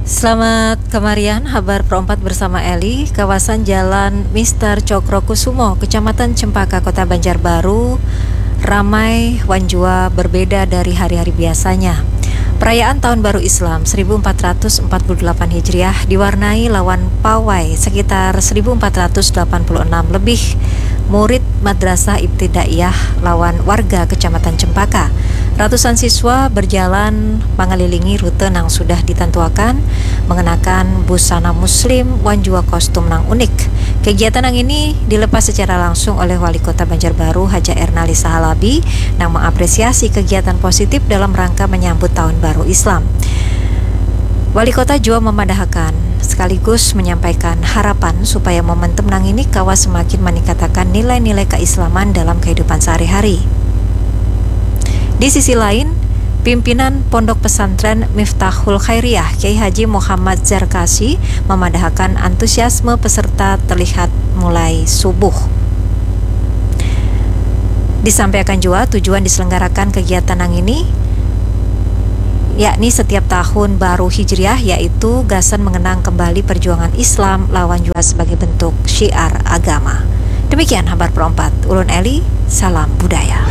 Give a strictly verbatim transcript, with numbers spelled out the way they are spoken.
Selamat kamarian, habar perompat bersama Eli. Kawasan Jalan Mister Cokrokusumo, Kecamatan Cempaka, Kota Banjarbaru, ramai wan jua berbeda dari hari-hari biasanya. Perayaan Tahun Baru Islam seribu empat ratus empat puluh delapan Hijriah diwarnai lawan pawai sekitar seribu empat ratus delapan puluh enam lebih murid Madrasah Ibtidaiyah lawan warga Kecamatan Cempaka. Ratusan siswa berjalan mengelilingi rute nang sudah ditentuakan, mengenakan busana muslim wan jua kostum nang unik. Kegiatan nang ini dilepas secara langsung oleh Wali Kota Banjarbaru, Haja Ernalisa Halabi, nang mengapresiasi kegiatan positif dalam rangka menyambut Tahun Baru Islam. Wali Kota jua memadahakan sekaligus menyampaikan harapan supaya momentum nang ini kawa semakin meningkatakan nilai-nilai keislaman dalam kehidupan sehari-hari. Di sisi lain, pimpinan Pondok Pesantren Miftahul Khairiyah, Kiai Haji Muhammad Zarkasi, memadahakan antusiasme peserta terlihat mulai subuh. Disampaikan jua tujuan diselenggarakan kegiatan nang ini, yakni setiap tahun baru Hijriah, yaitu gasan mengenang kembali perjuangan Islam lawan jua sebagai bentuk syiar agama. Demikian habar perompat. Ulun Eli, salam budaya.